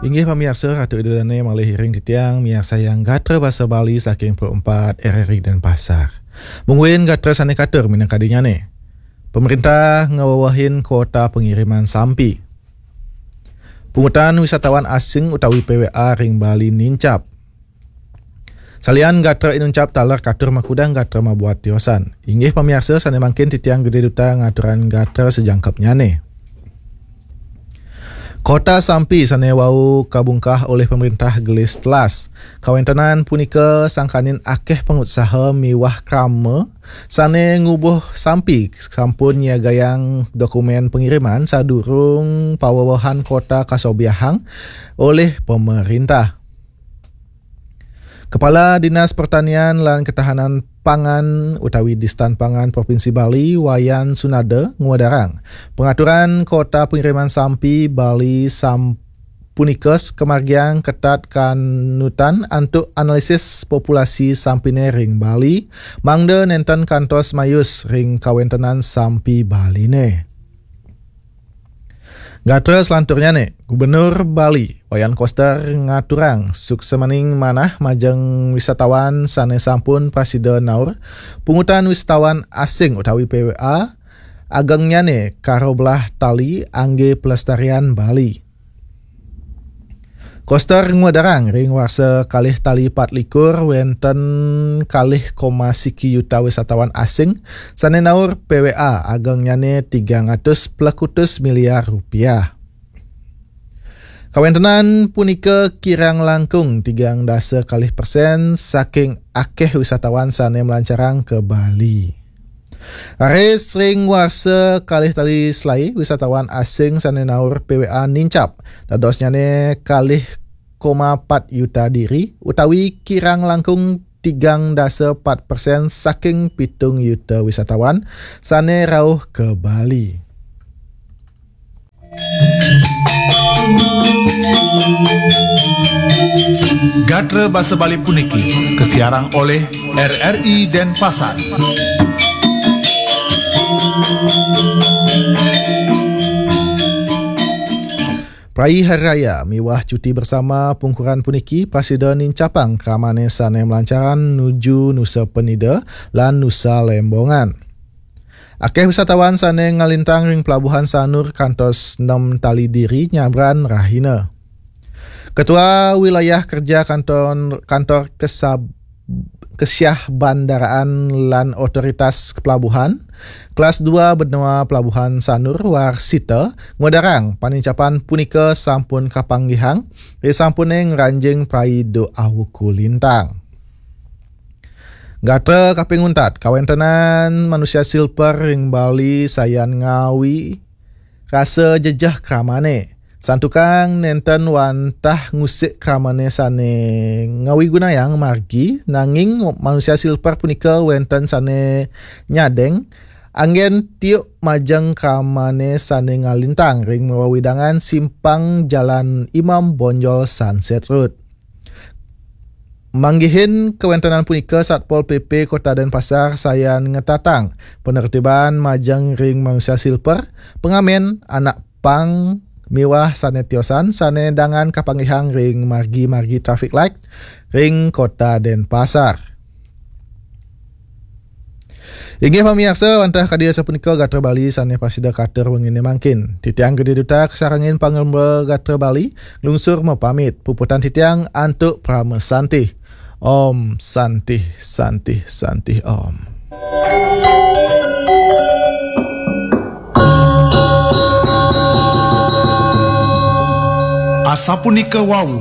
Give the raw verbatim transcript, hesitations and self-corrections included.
Inggih pamiarsa, Ratu Ida Dane malih iring titiang miarsayang gatra basa Bali saking Pro empat R R I Denpasar. Mungguing gatra sane katur minangka dinyane. Pemerintah ngawewehin kuota pengiriman sampi. Pungutan wisatawan asing utawi P W A ring Bali nincap. Salian gatra inuncap taler katur makudang gatra mabuat tiosan. Inggih pamiarsa, sane mangkin titiang Gede Duta ngaturang gatra sajangkepnyane. Kota Sampi sane wau kabungkah olih pemerintah gelis telas. Kawentenan punika sangkaning akeh pangutsaha miwah krama sane ngubuh sampi sampun nyiagayang dokumen pengiriman sadurung pawewehan kota kasobiahang olih pemerintah. Kepala Dinas Pertanian lan Ketahanan Pangan utawi Distan Pangan Provinsi Bali, Wayan Sunada, ngwedarang pengaturan kota pengiriman sampi Bali sam-, punika kamargiang ketat kanutan antuk analisis populasi sampine ring Bali, mangda nenten kantos mayus ring kawentenan sampi Baline. Gatra selanturnyane, Gubernur Bali, Wayan Koster, ngaturang suksmaning manah majeng wisatawan sane sampun prasida naur pungutan wisatawan asing utawi P W A, agengnyane karoblah tali angge pelestarian Bali. Koster ngwedarang ring warsa kalih tali patlikur wenten kalih koma siki yuta wisatawan asing sane naur P W A agengnyane tigang atus plekutus miliar rupiah. Kawentenan punika kirang langkung tigang dasa kalih persen saking akeh wisatawan sane mlancarang ke Bali. Raris ring warsa kalih tali selai, wisatawan asing sane naur P W A nincap, dadosnyane kalih koma pat yuta diri, utawi kirang langkung tigang dasa pat persen saking pitung yuta wisatawan sane rauh ke Bali. Gatra basa Bali puniki kasiarang oleh R R I Denpasar. Prai Hari Raya miwah cuti bersama pungkuran puniki prasida nincapang kramane sane mlancaran nuju Nusa Penida lan Nusa Lembongan. Akeh wisatawan sane ngalintang ring Pelabuhan Sanur kantos nem tali diri nyabran rahina. Ketua Wilayah Kerja Kantor, Kantor Kesab-, Kesyah Bandaraan lan Otoritas Pelabuhan, Kelas dua Benua Pelabuhan Sanur Warsita, ngwedarang panincapan punika sampun kapanggihang, risampune ngranjing prai duk awuku lintang. Gatra kaping untat, kawentenan manusia silper ring Bali sayan ngawi rasa jejeh kramane. Santukan nenten wantah ngusik kramane sane ngawigunayang margi, nanging manusia silper punika wenten sane nyadeng anggen tiuk majeng kramane sane ngalintang ring wewidangan simpang Jalan Imam Bonjol Sunset Road. Manggihin kawentenan punika, Satpol P P Kota Denpasar sayan ngetatang penertiban majeng ring manusia silper, pengamen, anak pang, miwah sane tiosan sane dangan kapanggihang ring margi-margi traffic light ring Kota Denpasar. Inggih pamiarsa, wantah kadi asapunika gatra Bali sane prasida katur wengine mangkin. Titiang Gede Duta kasarengin pangremba gatra Bali nglungsur mapamit. Puputang titiang antuk parama santih. Om Santih, Santih, Santih Om. Asapunika wau,